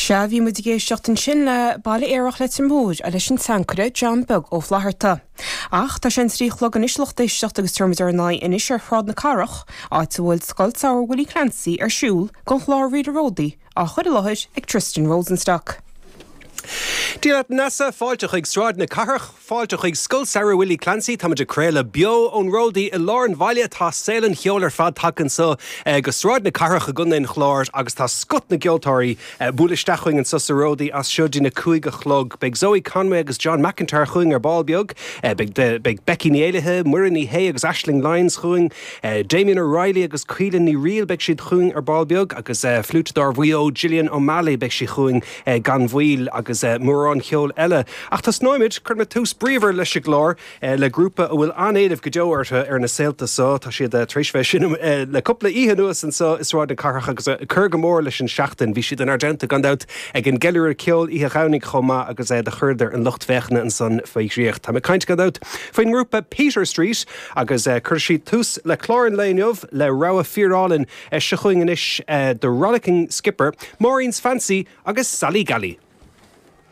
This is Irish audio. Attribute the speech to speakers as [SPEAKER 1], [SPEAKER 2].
[SPEAKER 1] Sea, bhí muid ag éisteacht ansin le Baile Aerach Leitir Móir leis an tseanchaire John Beag Ó Flatharta. Ach tá sé an 3 a chlog anois lucht éisteachta agus tabharfaidh muid ár n-aghaidh anois ar Shráid na Cathrach, áit a bhfuil Scoil Samhraidh Willie Clancy ar siúl don chlár Ríle Ródaí á chur i láthair ag Tristan Rosenstock.
[SPEAKER 2] Dia leat Neasa, fáilte chuig Sráid na Cathrach, fáilte chuig Scoil Samhraidh Willie Clancy. Táimid ag craoladh beo ón Ródaí i lár an bhaile. Tá saol an cheoil ar fad tagtha anseo go Sráid na Cathrach i gContae an Chláir agus tá scoth na gceoltóirí ag bualadh isteach chugainn anseo sa Ródaí as seo dtí na 5 a chlog. Beidh Zoe Conway agus John McIntyre chugainn ar ball beag. Beidh Becky Ní Éallaithe, Muireann Ní Shé agus Aisling Lyons chugainn. Damien O'Reilly agus Caoilfhionn Ní Fhrighil, beidh siad chugainn ar ball beag agus fliúiteadóir Mhaigh Eo Gillian O'Malley, beidh sí chugainn gan mhoill agus mórán ceoil eile. Ach tosnóimid, cuirfimid tús bríomhar leis an gclár le grúpa a bhfuil an-éileamh go deo orthu ar na saolta so. Tá siad tar éis bheith ag seinm le cúpla oíche anuas anseo i Sráid na Cathrach agus ag cur go mór leis an seachtain. Bhí siad inár dteannta gan dabht ag an gceiliúradh ceoil oíche Dhomhnaigh chomh maith agus do chuireadar an lucht féachana ansan faoi dhraíocht. Táim ag caint gan dabht faoin ngrúpa Peter Street agus cuirfidh siad tús le clár an lae inniu le rogha fíorálainn. Seo chugainn anois The Rollicking Skipper, Maureen's Fancy agus Sally Gally.